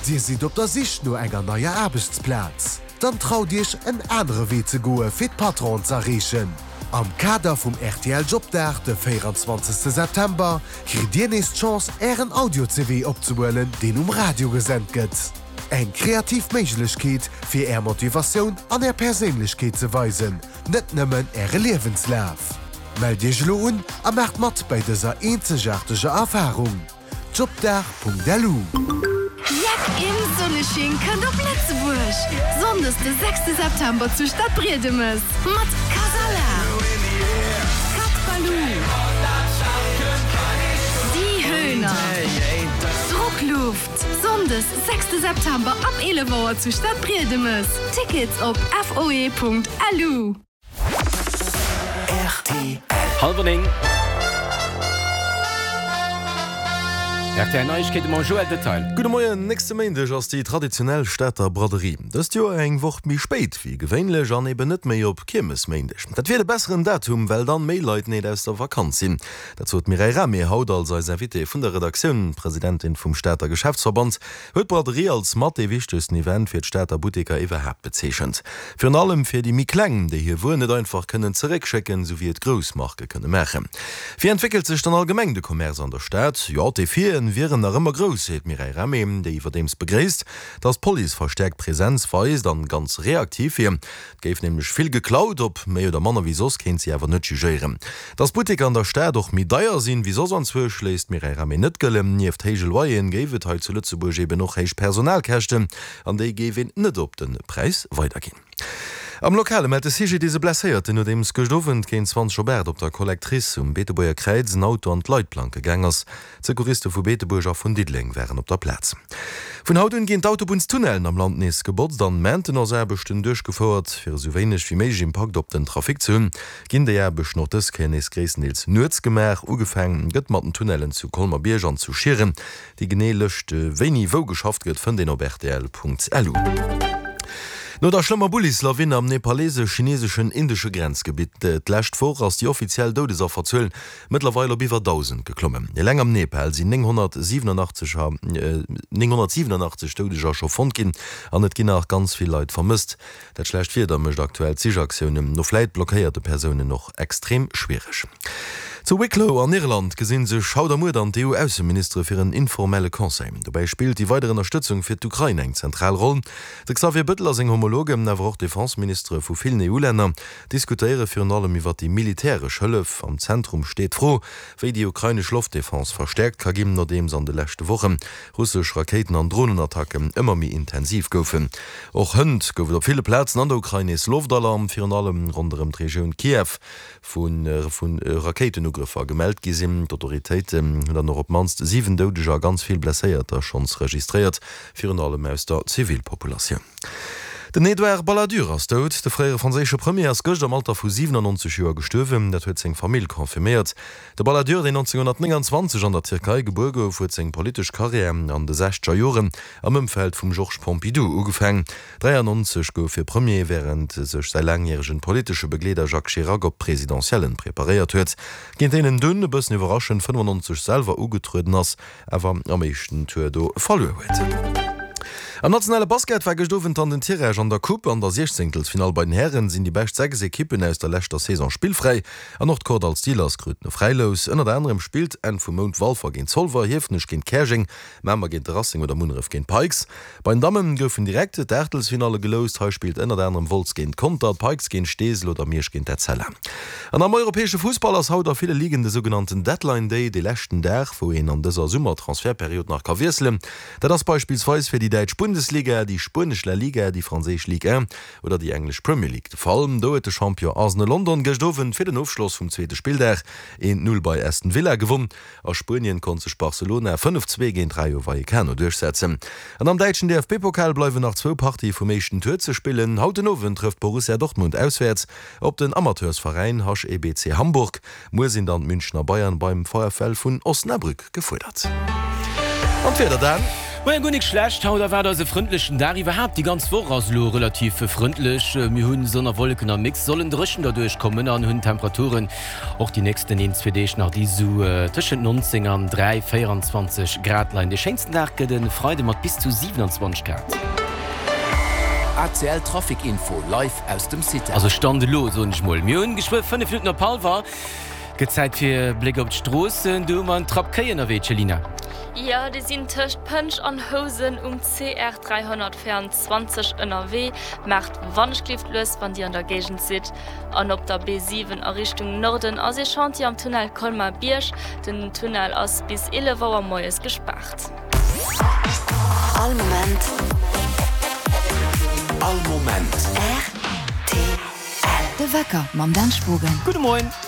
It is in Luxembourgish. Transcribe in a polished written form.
Dir sidd op der Sich no enger neier Aarbechtsplaz? Dann traut Iech en anere Wee ze goe fir d'Patronen z'erreechen. Am Kader vum rtl Jobdag de 24 September kritt Dir nees d'Chance Ären Audio-CV opzehuelen deen um Radio gesent gëtt. Eng kreativ Méiglechkeet fir Är Motivatioun an Är Perséinlechkeet ze weisen, net nëmmen Äre Liewenslaf. Mellt Iech elo un a maacht mat bäi dëser eenzegaarteger Erfarung. Jobdag.lu. Jeck im Sonnesching kënnt op Lëtzebuerg! Sonndes de sechste September zu Stadbriedemes mat Kasala, Cat Baloo, Die Höhner, Druckluft. Sonndes sechste September ab 11 Auer zu Stadbriedemes. Tickets op foe.lu. Hallwer 9. Rtl Neiegkeete mam Joël Detail. Gudde Moien, Nächste Méindeg ass déi traditionell Stater Braderie. Dëst Joer eng Woch méi spéit wéi gewéinlech an eben net méi op Kiermesméindeg. Dat wier de besseren Datum, well dann méi Leit neet aus der Vakanz sinn. Dat sot d'Mireille Rahmé haut als eis Invitée vun der Redaktioun. D'Presidentin vum Stater Geschäftsverband huet d'Braderie als mat dee wichtegsten Event fir d'Stater Butteker iwwerhaapt bezeechent. Virun allem fir déi méi kleng, déi hir Wuer net einfach kënnen zeréckschécken, sou wéi et grouss Marke kënne maachen. Wéi entwéckelt sech dann allgemeng de Commerce an der Stad? Jo, d'Defien wieren nach ëmmer grouss, seet d'Mireille Rahmé, déi iwwerdeems begréisst, datt d'Police verstäerkt Presenz weist an ganz reaktiv wier. Et géif nämlech vill geklaut, ob méi oder manner wéi soss, kéint si awer net jugéieren. Dass d'Butteker an der Stad och méi deier sinn, wéi soss anzwousch, léisst d'Mireille Rahmé net gëllen. Nieft héije Loyeren géif et hei zu Lëtzebuerg eben och héich Personalkäschten, an déi géif een net op de Präis weiderginn. Am Lokale mellt de CGDIS e Blesséierten, nodeems gëscht Owend géint 20 op 8 op der Collectrice um Beetebuerger Kräiz en Auto an d'Leitplanke gaang ass. D'Secouriste vu Beetebuerg a vun Diddeleng waren op der Plaz. Vun haut un ginn d'Autobunnstunnellen am Land nees gebotzt an Maintenance-Aarbechten duerchgefouert. Fir esou wéineg wéi méiglech Impakt op den Trafic ze hunn, ginn déi Aarbechten och dës Kéier nees gréisstendeels nuets gemaach. Ugefaang gëtt mat den Tunnellen zu Colmer-Bierg an zu Schieren. Déi genee Lëscht, wéini wou geschafft gëtt, fënnt een op rtl.lu. No der schlëmmer Bullislawinn am nepalesesch-chineseschen-indesche Grenzgebitt d'lescht Woch ass déi offiziell Doudesafferzuel Mëttlerweil op iwwer 1.000 geklommen. Eleng am Nepal sinn 987 987 Doudeger scho fonnt ginn an et ginn nach ganz vill Leit vermësst. Dat schlecht Wieder mécht aktuell d'Sichaktiounen no vläit blockéierte Persounen och extrem schwiereg. Zu Wicklow an Irland gesi sech haut a muer dann d'EU-Ausseministere fir en informelle Conseil. Dobäi spillt déi weider Ënnerstëtzung fir d'Ukrain eng zentral Roll. De Xavier Bëttel a seng Homologen, awer och d'Defenseministere vu villen EU-Länner, diskutéiere virun allem iwwer déi militäresch Hëllef. Am Zentrum steet d'Fro, wéi déi ukrainesch Loftdefense verstäerkt ka ginn, nodeems an de leschte Woche russesch Rakéiten an Dronenattacken ëmmer méi intensiv goufen. Och hënt gouf et op ville Plazen an der Ukrain nees Loftalarm, virun allem ronderëm d'Regioun Kiew, wou vu Rakéitenugrëffer gemellt gi sinn. D'Autoritéiten hunn dann och op d'mannst 7 Doudeger a ganz vill Blesséierter schonns registréiert, virun allem aus der Zivilpopulatioun. Den Edouard Balladur ass dout. De fréiere franséische Premier ass gëscht am Alter vu 97 Joer gestuerwen. Dat huet seng Famill confirméiert. De Balladur, deen 1929 an der Tierkei gebuer gouf, huet seng politesch Karriär an de sechzeger Joren am Ëmfeld vum Georges Pompidou ugefaang. 93 gouf hie Premier, wärend sech säi laangjäregen politesche Begleeder Jacques Chirac op d'Presidentiellen preparéiert huet, géint deen en dunn, e bëssen iwwerraschend, 95 selwer ugetrueden ass. awer am éischten Tour do verluer huet. Am nationale Basket war gëscht Owend dann den Tirage an der Coupe. An der Siechzéngtelsfinall bei den Hären sinn déi bescht 6 Ekippen aus der leschter Saison spillfräi an och d'Kordall Steelers kruten e Fräilous. Ënnert anerem spillt Enn vum Mount Walfer géint Zolwer, Hiefenech géint Käerjeng, Mamer géint de Racing oder Munneref géint Pikes. Bei den Damme goufen direkt d'Aachtelsfinalle geloust. Hei spillt ënnert anerem Wolz géint Conter, d'Pikes géint Steesel oder Miersch géint Etzella. An am europäesche Fussball ass haut a ville Ligen de sougenannten Deadline Day, dee leschten Dag, wou een an dëser Summertransfertperiod nach ka wiesselen. Dat ass beispillsweis fir déi däitsch Bundesliga, déi spuenesch La Liga, déi franséisch Ligue 1 oder déi englesch Premier League de Fall. Do huet de Champion Arsenal London gëscht Owend fir den Ofschloss vum zweete Spilldag een 0 bei Aston Villa gewonn. A Spuenien konnt sech Barcelona 5, 2 géint Rayo Vallecano duerchsetzen. An am däitschen DFB-Pokal bleiwen nach zwou Partië vum éischten Tour ze spillen. Haut den Owend trëfft Borussia Dortmund auswäerts op den Amateursveräin HEBC Hamburg. Muer sinn dann d'Münchner Bayern beim VfL vun Osnabrück gefuerdert. An d'Wieder dann? Moien, guer nik schlecht. Haut erwaart eis e frëndlechen Dag. Iwwerhaapt déi ganz Woch ass elo relativ frëndlech. Mir hunn Sonn a Wolleken am Mix, sollen dréchen derduerch kommen an hunn Temperaturen och déi nächsten een, zwee Deeg nach, déi sou tëschent 19 an 3, 24 Grad leien. De schéinsten Dag gëtt e Freide mat bis zu 27 Grad. ACL Trafic Info live aus dem CITEL. Also Stand elo, soen ech mol. Mir hunn geschwë 5 Minutten op hallwer. Gëtt Zäit fir e Bléck op d'Stroossen. Do hu mer en Trapp Kéi ënnerwee, Céline. Jo, déi sinn tëscht Pënsch an Housen um CR 324 ënnerwee. Maacht wannechgelift lues, wann Dir an der Géigend sidd. An op der B7 a Richtung Norden ass ee Chantier am Tunnel Colmar-Bierg. Den Tunnel ass bis 11 Auer moies gespaart. All Moment. All Moment. Rtl. De Wecker mam Dan Spogen. Gudde Moien.